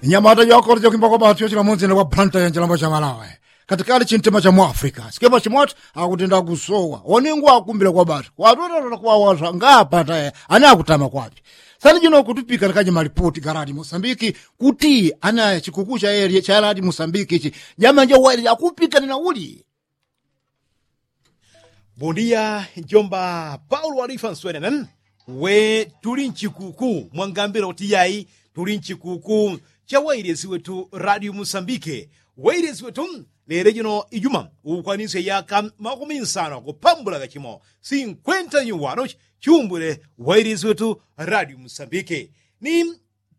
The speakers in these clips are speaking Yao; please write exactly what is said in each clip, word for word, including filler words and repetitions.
Nyamata jwakolo jakwimba kwa batu yochila munzina kwa planta ya njilambo cha malawe, katikali chintima cha mwafrika sikepa chimwatu. Akutenda kusowa waningu wakumbila kwa batu watwetatola kuwawasa ngapata ane akutama kwapi. Sani jino kutupika nikaji malipoti garadi mosambiki kuti ane chikuku cha eli cha eladi mosambiki ichi jamanja waili akupikanila uli. Bondia njomba paulo walifa nswenene. We tuli nchikuku mwangambila kuti yai tuli nchikuku cha wailesi wetu radio musambike. Wailesi wetu lele jino ijuma ukwanisye yaka makumi nsano kupambula kachimo sinkwenta nyuwano chiumbule. Wailesi wetu radio musambike ni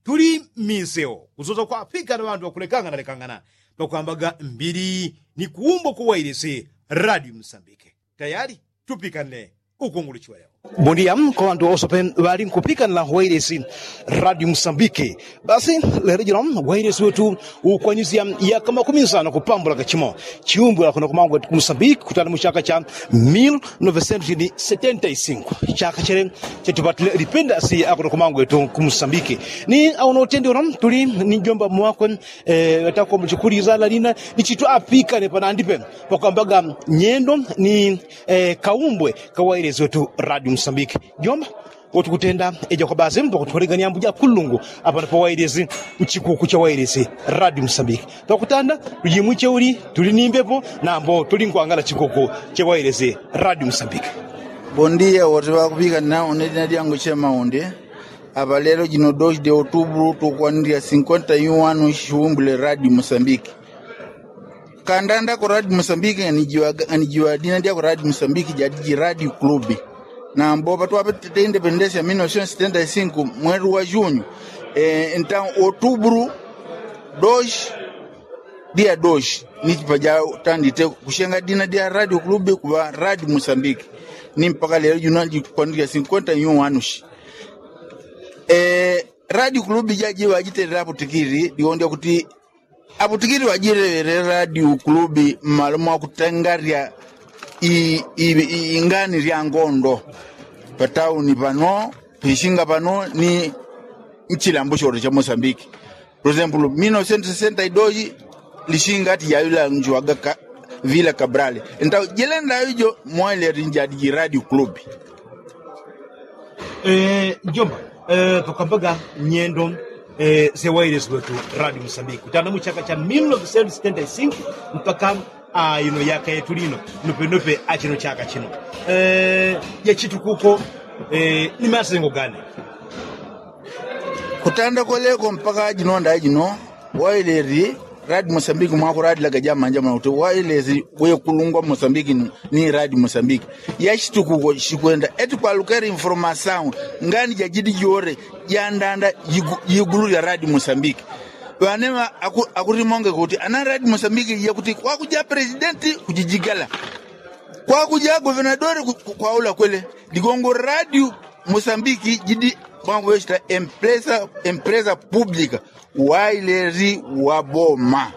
tuli mmiseo kusosa kwafika na ŵandu ŵakulekangana lekangana pakwambaga mbili ni kuumbwa kuwailesi radio musambike. Tayali tupikanile ukunguluchiweleo. Bondia kwa ŵandu ŵawosope ŵali nkupikanila wailesi radio musambike. Basi lelo jino wailesi wetu ukwanyisya yaka makumi nsano kupambula kachimo chiumbwila kuno kumangwetu kumusambike kutana muchaka cha mil novesentu ni setenta i sinku. Chaka chele chetupatile lipendasi akuno kumangwetu kumusambike. Ni auno utendi uno tuli ni njomba mwakwe. Ŵatakomo chikulizala lina ni chitu apikane panandipe pakwambaga nyendo ni kaumbwe kawailesi wetu radio musambike. Njomba wotukutenda eja kwa basi pakutukolega ni ambu ja kulungu apano pawailesi nchikuku cha wailesi radio musambike. Pakutanda tujimwiche uli tuli ni mbepo nambo tuli nkwangala chikuku cha wailesi radio musambike. Bondia woti ŵakupikanila une dina dyangu chemaundi. Apa lelo jino doshi de otubulu tukwanilila sinkwenta yu wanu shiumbule radio musambike. Kandanda ku radio musambike nganijiwa dina dya ku radio musambike jadiji radio club. Nambo patwapete independensi ya mil novesentu setenta i sinku mwelu wa junyu. Enta otubulu doshi dia doshi ni chipa jatandite kushenga dina dia radio club kuŵa radio musambike. Ni mpaka lelo juna jikwanilila sinkwenta yu wanu shi. Radio club jajiwa jitelela aputikili diwondya kuti aputikili wajilewele radio club mmalo mwakutangalya ingani lya ngondo patauni pano pishinga pano ni nchilambo sholo cha mosambiki. Prosempulu mil novesentu sesenta i dos lishinga ati jailanjiwaga vila kabrale. Entawe jilenda ijo mwaileti njadiji radio club. Njomba pakwambaga nyendo sewailesi wetu radio musambiki kutana muchaka cha mil novesentu sesenta i sinku mpaka ino yaka yetu lino nopenope achino chaka chino jachitukuko ni masengo gani? Kutanda kweleko mpaka jino ndajino wailesi radio musambiki mwakuradilaga jamanja mwakuti wailesi wekulungwa musambiki ni radio musambiki. Yashitukuko shikwenda eti kwalukela informasaun ngani jajidi jore jandanda jigulu lya radio musambiki. Ŵaneŵa akutimonge kuti ana radio musambiki jakuti kwakuja presidenti kujijigala kwakuja governadori kwaula kwele. Ligongo radio musambiki jidi mwakuŵechita empresa empresa publika wailesi wa boma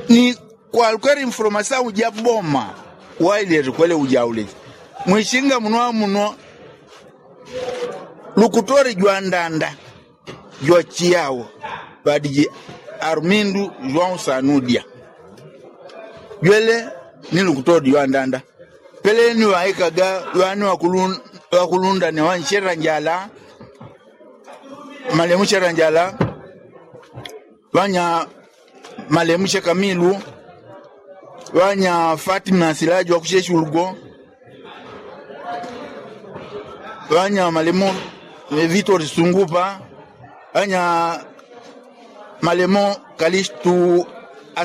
ni kwalukela informasaun ja boma. Wailesi kwele ujauleji mwishinga muno amuno lukutori jwandanda jwachiyawo ŵadiji arumindu jwaunsanudya jwele ni lukutori jwandanda. Peleni ŵaikaga ŵani ŵakulundane ŵanchera njala malemu chera njala ŵanya malemu chekamilu ŵanya fatima silaji wakuchechulugo ŵanya malemu vitori sungupa ŵanya malemu kalistu